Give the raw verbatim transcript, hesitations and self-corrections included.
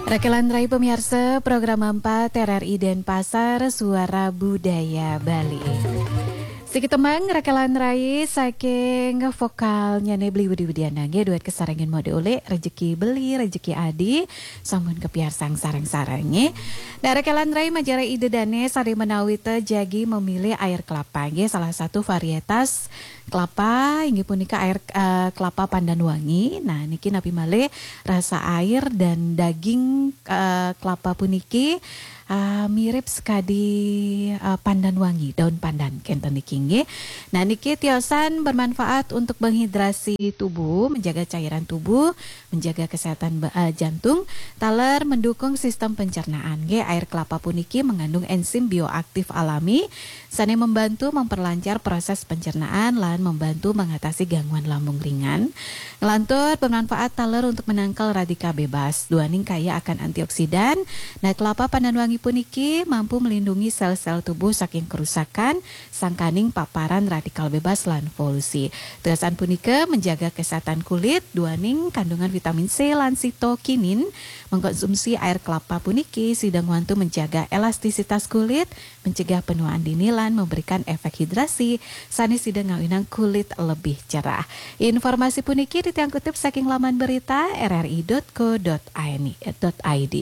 Rakelan rai pamiarsa program empat R R I Denpasar, Suara Budaya Bali. Siki tembang Rakelan rai saking vokalnya ne Beli Budi Widiana nggih, duet kasarengin Mode Ulik, Rejeki Beli, Rejeki Adi, sampun kapiarsang sareng-sareng nggih. Nah, Rakelan rai majeng ida dane sare menawi te jagi memilih air kelapa nggih, salah satu varietas kelapa inggih punika air, eh, kelapa pandan wangi. Nah, niki napi malih rasa air dan daging, eh, kelapa puniki, eh, mirip sekadi, eh, pandan wangi, daun pandan kenten niki nggih. Nah, niki tiosan bermanfaat untuk menghidrasi tubuh, menjaga cairan tubuh, menjaga kesehatan ba- eh, jantung, taler mendukung sistem pencernaan nggih. Air kelapa puniki mengandung enzim bioaktif alami sane membantu memperlancar proses pencernaan lan membantu mengatasi gangguan lambung ringan. Ngelantur bermanfaat taler untuk menangkal radikal bebas, duaning kaya akan antioksidan. Nah, kelapa pandan wangi puniki mampu melindungi sel-sel tubuh saking kerusakan sangkaning paparan radikal bebas lan polusi. Tiosan punika menjaga kesehatan kulit, duaning kandungan vitamin C lan sitokinin. Mengkonsumsi air kelapa puniki sida ngwantu menjaga elastisitas kulit, mencegah penuaan dini lan memberikan efek hidrasi sane sida ngawinang kulit lebih cerah. Informasi puniki titiang kutip saking laman berita R R I dot co dot I N, dot I D.